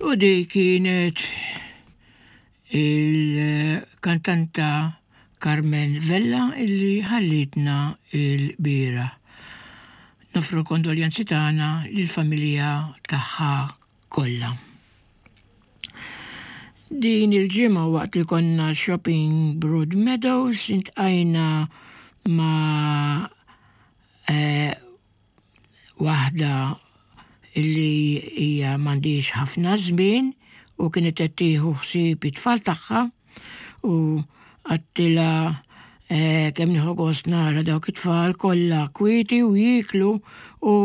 U di kienet il-kantanta Carmen Vella illi ħallitna il-bieraħ. Nofru kondoljanzi tagħna lill-familja tagħha kollha. Din il-ġimgħa waqt li konna shopping Broad Meadows intqajna ma' eh, waħda li hija m'għandhiex ħafna żmien u kienet qed tieħu ħsieb it-tfal tagħha u għattilha eh, kemm nieħu gost nara dawk it-tfal kollha kwieti u jieklu u